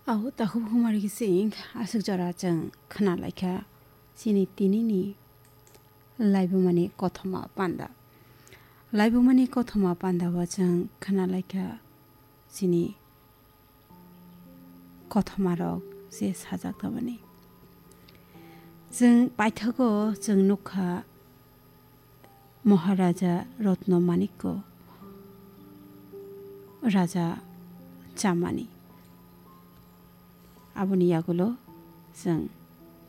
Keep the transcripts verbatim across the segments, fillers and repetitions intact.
Aho takhuk humari kising aswk jora chwng khna laikha chini tinini laibumani kothoma panda. Laibumani kothoma panda o chwng khna laikha chini kothoma rok je sajak tongmani. Chwng paithago chwng nukha Maharaja Ratna Manikko Raja chamani. Aboni yagulo chwng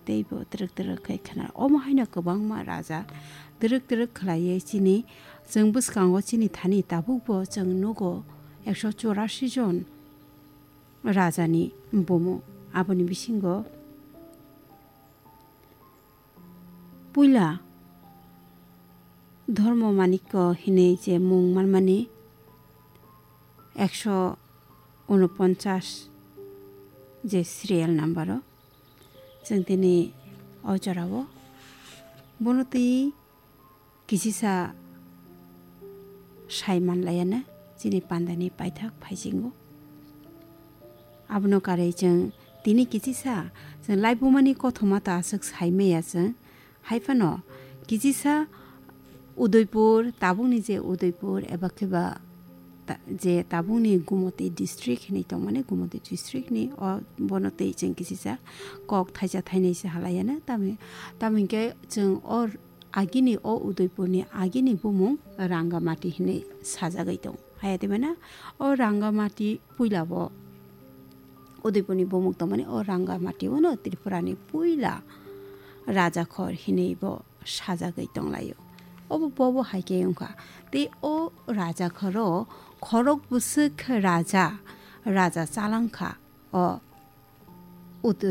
teibo twrwk twrwk khai khna. Omo haino kwbangma raja twrwk twrwk khlaiwi chini, chwng bwskango chini thani tabukbo chwng nugo ekso chorasi jon rajani bumung. Aboni bisingo puila Dharma Manikko hinwi je mung manmani ekso unoponchas je serial number o chwng tini o jorao bono twi kisisa sai manlaiya na chini pandani paithak phaisingo. Abono karwi chwng tini kisisa chwng laibumani kothoma ta aswk sai maya chwng. Hai phano kisisa Udaipur, tabukni je Udaipur eba khe ba ta-, je tabukni Gumoti district hinwi tongmani, Gumoti district ni o bono twi chwng kisisa kok thaisa thainwi se halaiya na. Tamo, tamo hinkhe chwng o agini o Udaipurni agini bumung Rangamati hinwi sajagwi tongo. Haya twi mano o Rangamati puila bo Udaipurni bumung tongmani o Rangamati o no Tripurani puila Rajakhor hinwi bo sajagwi tonglaio. Obo bobo hai khe wngkha. Tei o Rajakhoro khorok bwswk raja, raja chalangkha o Utu